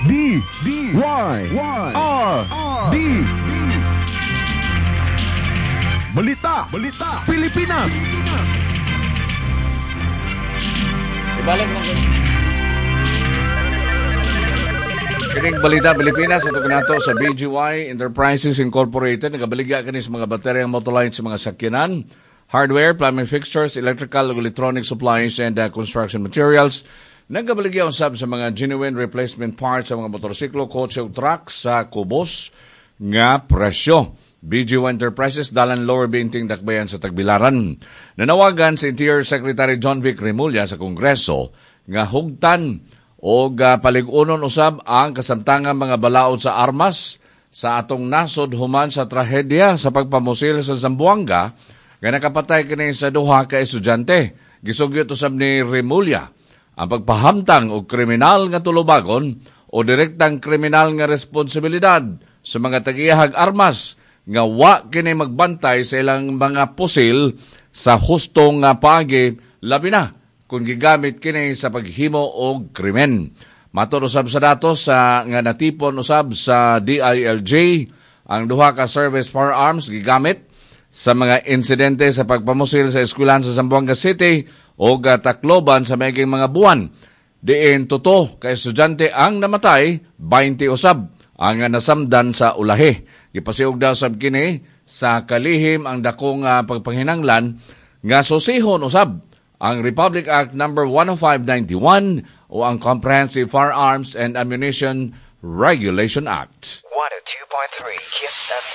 D D Y Y R D. Balita, Balita, Pilipinas. Ibalik mo. Kining Balita Pilipinas ato kanato sa BGY Enterprises Incorporated, nagabaligya kini sa mga bateryang motolite sa mga sakyanan, hardware, plumbing fixtures, electrical ug electronic supplies and construction materials. Nagabaligya usab sa mga genuine replacement parts sa mga motorsiklo, kotse ug truck sa kubos nga presyo. BGY Enterprises, Dalan Lower Binting, Dakbayan sa Tagbilaran. Nanawagan si Interior Secretary John Vic Remulla sa Kongreso nga hugtan o palig-unon usab ang kasamtangang mga balaod sa armas sa atong nasod human sa trahedya sa pagpamusil sa Zamboanga nga nakapatay kini sa duha ka estudyante. Gisugyot usab ni Remulla ang pagpahamtang og kriminal nga tulubagon o direktang kriminal nga responsibilidad sa mga tagiyahag armas nga wa kini magbantay sa ilang mga pusil sa hustong nga paagi, labi na kung gigamit kini sa paghimo og krimen. Matod usab sa datos sa nga natipon usab sa DILG, ang duha ka service firearms gigamit sa mga insidente sa pagpamusil sa eskwelahan sa Zamboanga City o Tacloban sa maiging mga buwan. Diin totoo ka estudyante ang namatay, 20 usab ang nasamdan sa ulahi. Gipasiog daw sab kini sa kalihim ang dakong pagpanghinanglan nga susihon usab ang Republic Act Number 10591 o ang Comprehensive Firearms and Ammunition Regulation Act. 102.3 Kiss FM.